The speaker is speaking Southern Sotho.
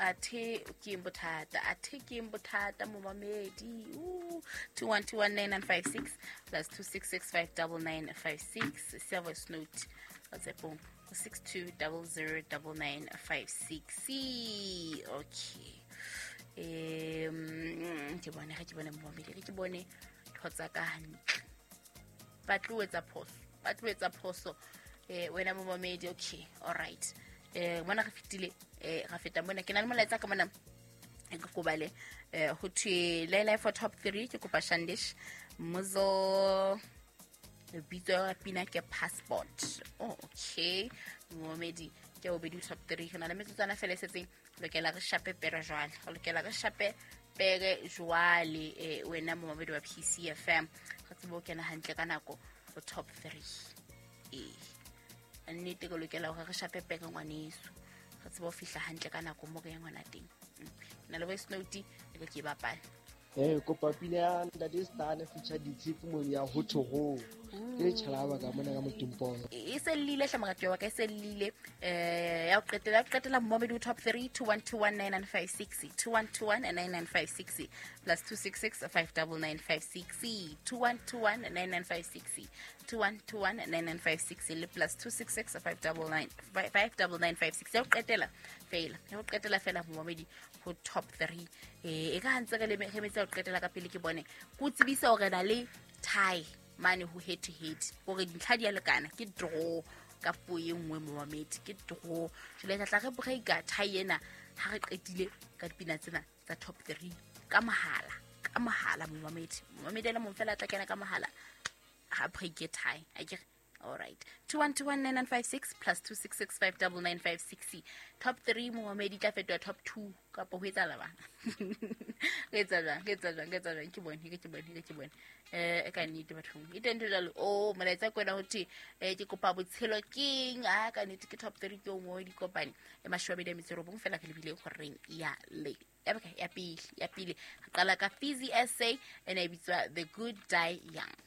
Athe ke eng bothata, athe ke eng bothata momamedi? 21219956 plus 26659956, siya voice note WhatsAppong go 62009956. Okay, ke bone ge ke bone momamedi, ge ke bone ntho tsa ka hantle. Ba tlo etsa phoso, ba tlo etsa phoso, wena momamedi. Okay, alright, mona re fetile, ra feta mona. Ke na le molaetsa ka mona e ke kobale, ho thwe lele for top 3. Ke kopa Shandish Muzo, lebitso ya pina ke Passport. Oh, okay momamedi, ke bobedi top 3. Re na le metsotswana fela e setseng. Lokela re shape pere jwale, re lokela re shape pere jwale, wena momamedi wa PCFM, re tsebe ho kena hantle ka nako ho top 3. Ee, nnete ke lokela hore re shape pere, ngwaneso, re tsebe ho fihla hantle ka nako mo re yang hona teng. Ke na le voice note, e re ke e bapale. Kopa pina ya Ntate Stane feature Ditshepo mo ya ho thoho. Ke tjhalaba ka mona ka Motimpong. E se llile hle, moratuwa wa ka, e se llile. Ya ho qetela, ya ho qetela momamedi ho top 3, 21219956, 21219956 plus 266 59956, 21219956, 21219956 le plus 266 599 59956. Ya ho qetela fela, ya ho qetela fela momamedi ho top 3. E ka hantse re le re metsa ho qetela ka pele, ke bone ko tsebisa hore na le tie mane ho head to head, hore dintlha di a lekana, ke draw ka puo e nngwe momamedi, ke draw. Jwale tla tla re breaka tie ena ha re qetile ka dipina tsena tsa top 3 ka mohala, ka mohala momamedi. Momamedi a le mong fela a tla kena ka mohala ha breake tie akere. Alright, 21219956 plus 26659956. Top 3 momamedi tla fetoha top 2 kapa ho etsahala bang? Re etsa jwang? Re etsa jwang? Re etsa jwang? Ke bone, ke bone, ke bone. Ka nnete bathong e teng ntho jwalo. O molaetsa ke wena, ho thwe, ke kopa Botshelo Keng. A ka nnete ke top 3 ke o nngwe dikopane e 29 fela re lebile horeng ya le ya bokae? Ya pele, ya pele. Re qala ka Fizzy SA, ene e bitswa The Good Die Young.